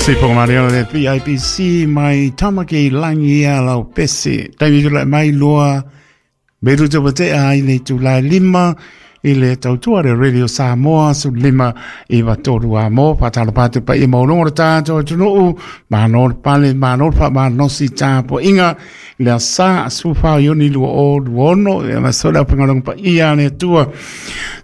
Sipo Maria le PIPC mai Tamaki Langi ia lau pese. Taimi tula mai loa meru te watea ai le tula lima i le tautua le Radio Samoa su lima i watoru a mō whātalo pātu pa i maulongo le tātou atunuu māno le pale māno le wha tāpo inga le sa sufa ioni lua o luono e ma sola pengalong pa ia le tua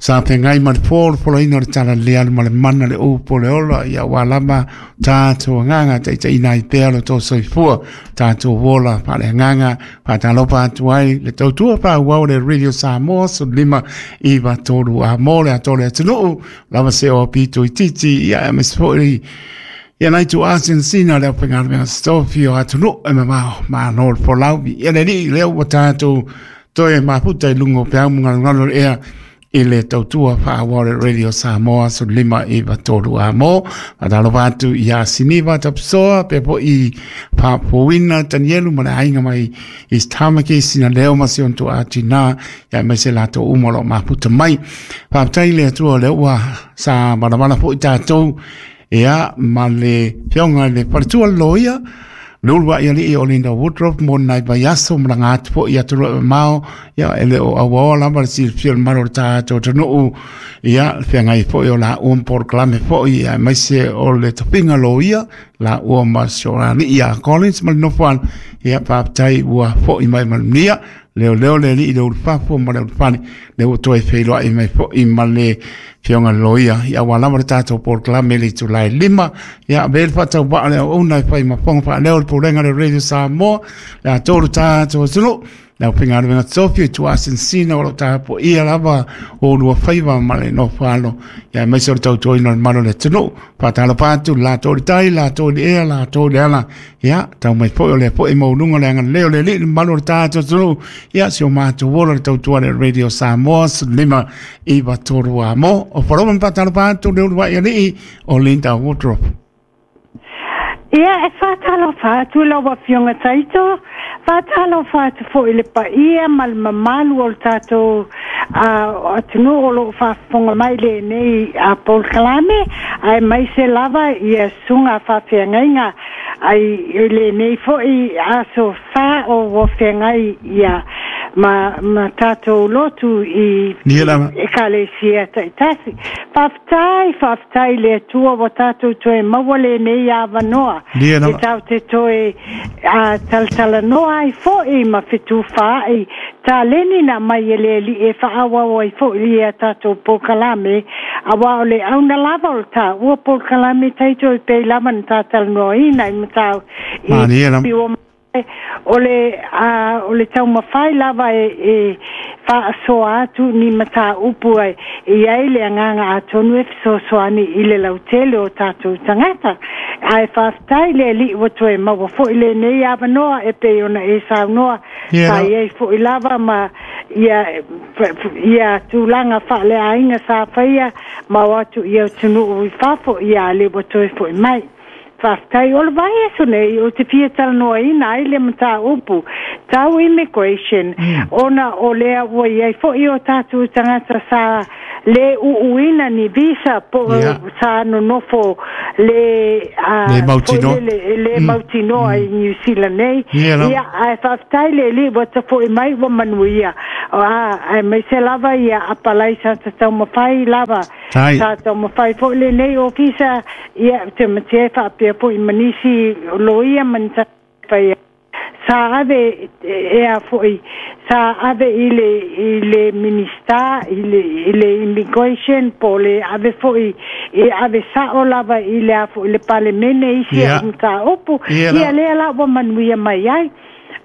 sa pengai ma le polo polo ina le tala le alu ma le mana le upo le ola ia walama tātou nganga te te ina i pea lo tō soifua tātou wola pa le nganga pa talopa atu ai le tautua pa uau le Radio Samoa su lima i watoru a mō le atole atunuu lava se o pito i titi ia e mesfoi ia nai tu asin sina le penga mea stofi o atunu e ma ma no folau ia le li le o tātou toe maputa i lungo pe au munga ngalo ea i le tautua whaaware Radio Samoa su lima i watoru a mō. Patalo atu i a Siniva Tapsoa, pe po i Pāpōina Danielu ma le ainga mai i Tamaki sina leo ma si onto a tina ia mai se lato umolo maputa mai. Whaapatai le atua le ua sa maramara po i tātou ia ma le whionga le paritua loia le ia li o Linda Woodruff mo nai vaiaso ma langa atu po i aturu e mao ia ele o aua lava le silafia le malo o le tātou atunuu ia feagai foi o la ua polokalame foi ia aemaise o le tofiga loia la ua ma si o alii ia Collins ma le nofoana ia faafetai ua fo'i mai malunia leo leo le alii le ulufafo ma le ulufale le ua toe feiloai mai fo'i ma le fioga loia ia ua lava le tatou polokalame le itulai lima ia ve le faatauvaa le auauna e fai ma foga faaleo le pulega le Radio Samoa le atoa le tatou atunuu le aufaigaluega tofi i tuasinasina o loo tapuaia lava o lua faiva ma le nofo alo ia aemaise o le tautuaina o le malo o le atunuu faatalofa atu latou le tai latou le ea latou le ala ia tau mai foi o lea foi maualuga le agalelei o le alii le mamalu o le tatou atunuu ia si o matou ola le tautua le Radio Samoa lima i watoru a mo o wharoma ma atu le uluai alii o Linda Woodruff. Ia e whātalofa atu lau afioga Taito, whātalofa atu foi le paia ma le mamalu o le tātou atunuu o loo faafofoga mai lenei a polokalame aemaise lava ia susuga faafeagaiga ai i lenei foi aso fā o ua feagai ia ma ma tātou lotu i ekalesia taitasi. Faafetai, faafetai le Atua ua tātou toe maua lenei avanoa. E tau te toe talatalanoa ai foi ma fetufaai taleni na mai e le Alii e faaauau ai foi ia tātou polokalame auā o le auna lava o le tāua polokalame taito e pei lava na tātalanoaina i matau i o le o le taumafai lava e faasoa atu ni mataupu ai e ai le agaga atonu e fesoasoani i le lautele o tatou tagata ae faafetai le Alii ua toe maua fo'i lenei avanoa e pei ona e saunoa sa iai fo'i lava ma ia ia tulaga faaleaiga sa faia ma o atu ia atunuu i fafo ia le ua toe fo'i mai. Faafetai o le vaiaso nei ou te fia talanoaina ai le mataupu tau immigration ona o lea ua iai fo'i o tatou tagata sa lē uuina ni visa po sa nonofo le le le mautinoa i New Zealand nei ia ae faafetai le Alii ua tafo'i mai ua manuia aemaise lava ia apalai sa tataumafai lava sa taumafai fo'i lenei ofisa ia te matea faapea fo'i ma nisi loia ma ni faia sa ave e a fo'i sa ave i le minista i le immigration po le ave fo'i e ave sa'o lava i le a fo'i le palemene isi yeah. mataupu ia lea la ua manuia mai ai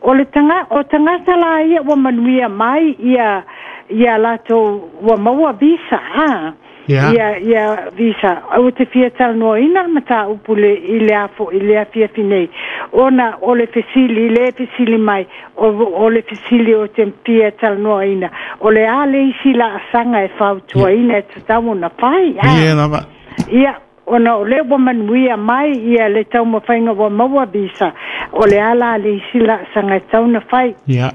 o le tanga o tagata la ia ua manuia mai ia ia latou ua maua visa a ia ia visa au te fia talanoaina le mataupu le i le afo i le afiafi nei ona o le fesili le fesili mai o le fesili o te fia talanoaina o le a le isi laasaga e fautuaina e tatau ona fai ia lava ia ona o le ua manuia mai ia le taumafaiga ua maua visa o le a la le isi laasaga e tatau ona fai ia.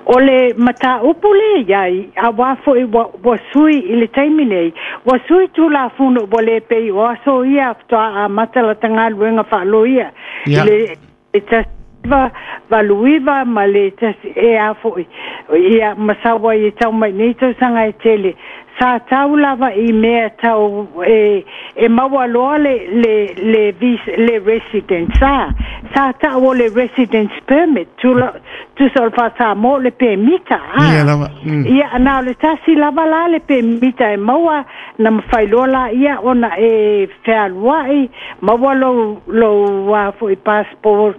O le mataupu lea i ai, auā foi ua sui i le taimi nei, ua sui Tulafono ua le pei o aso ia faatoa amata lata galuega faa-loia i le 1989 ma le tasi e a foi ia ma sau ai e tau mai nei tausaga e tele. Sa tau lava i mea tau e, e maua loa le, le, le, visa, le residence a. Sa tau o le residence permit, tula, tusa o le faa-Samoa o le pemita a. Ia lava. Ia, na o le tasi lava la le pemita e maua, na mafai loa laia ona e fealuai, maua lou, lou a foi passport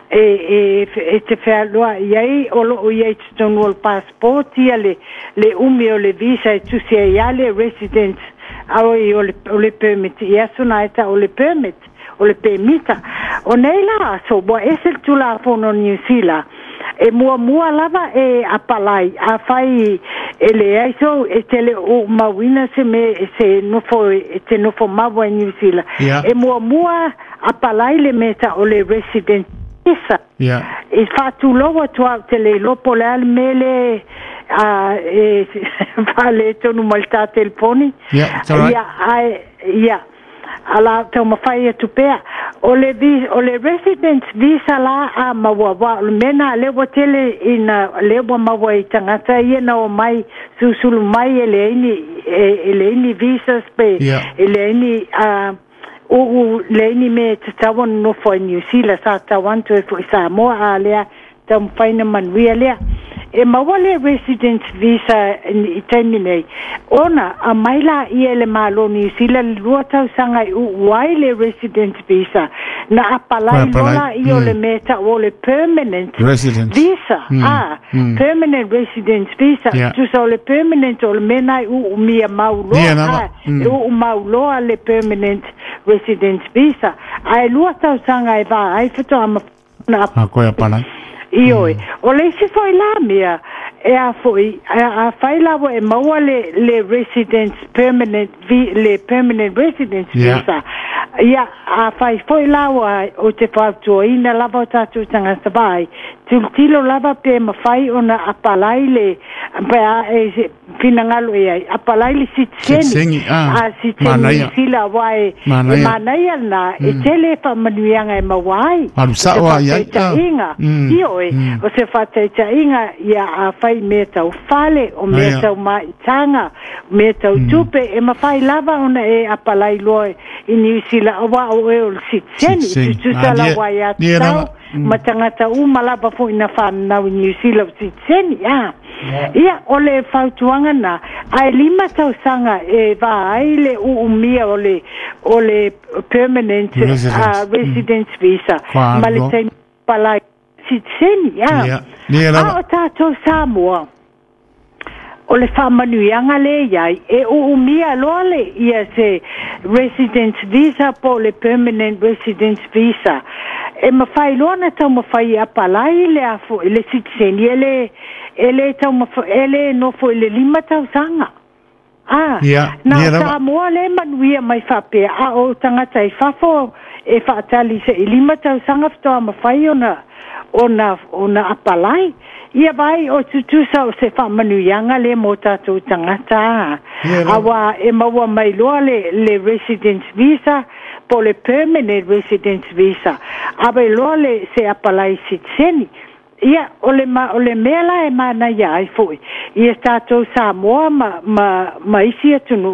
e, e, e te fealuai ai, o loo i ai i totonu o le passport ia le, le umi o le visa e tusi ai lava le residence a oi o le, o le permit i aso na e tau o le permit, o le pemita. O nei la aso, ua ese le Tulafono o Niu Sila, e muamua lava e apalai, afai e leai sou, e te le o mauina se mea e se nofo, e te nofo maua i Niu Sila. E muamua apalai le mea e tau o le resident visa. E faatulou atu au, te le iloa po o le a le mea le e faaletonu mai le ta telefoni. Yeah, it's all right. Ia, ae, ia, ala taumafai atu pea. O le, o le residence visa la a maua, wa o le mea na lea ua tele ina lea ua maua i tagata ia na omai susulu mai e leai ni, e leai ni visas pe e leai ni uu leai ni mea e tatau ona nofo ai Niu Sila, sa tatau atu ai foi i Samoa, a lea taumafai na manuia lea. E maua le residence visa i taimi nei, ona aumai laia e le Malo o Niu Sila le 2 tausaga e uu ai le residence visa, na apalai loa laia o le mea e tau o le permanent visa, a, permanent residence visa, tusa o le permanent o le mea na e uumia mau loa, a, e uu mau loa le permanent residence visa, ae 2 tausaga e va ai faatoa na apalai. Ioe. O le isi foi la mea, e a foi, afai la ua e maua le, le residence permanent, vi, le permanent residence visa, ia, afai foi la ua ou te fautuaina lava o tatou tagata vaai, tilotilo lava pe mafai ona apalai le, pe a e finagalo i ai, apalai le sitiseni, a sitiseni sila aua e, e manaia lena, e tele faamanuiaga e maua ai. Alu sao ai ai. Faataitaiga, ioe, o se faataitaiga ia afai mea tau fale, o mea tau maitaga, mea tau tupe, e mafai lava ona e apalai loa i Niu Sila, aua o oe o le sitiseni, tutusa lau aiatatau, ma tagata uma lava foi na fanau i Niu Sila o sitiseni, a. Ia, o le fautuaga na, ae 5 tausaga e va ai le uumia o le, o le permanent residence visa, ma le taimi palai sitiseni, a. A o tatou Samoa, o le faamanuiaga lea i ai, e uumia loa le ia se residence visa po o le permanent residence visa. E mafai loa ona taumafai e apalai le a foi le sitiseni, e le, e le taumafai, e le nofo i le 5 tausaga. A, na o Samoa lea e manuia mai faapea, a o tagata i fafo e faatali se i 5 tausaga faatoa mafai ona, ona, ona apalai. Ia vai o tutusa o se faamanuiaga lea mo tatou tagata, auā e maua mai loa le, le residence visa po o le permanent residence visa, ave loa le se apalai sitiseni. Ia, o le, ma, o le mea la e manaia ai foi ia tatou Samoa ma, ma, ma isi atunuu.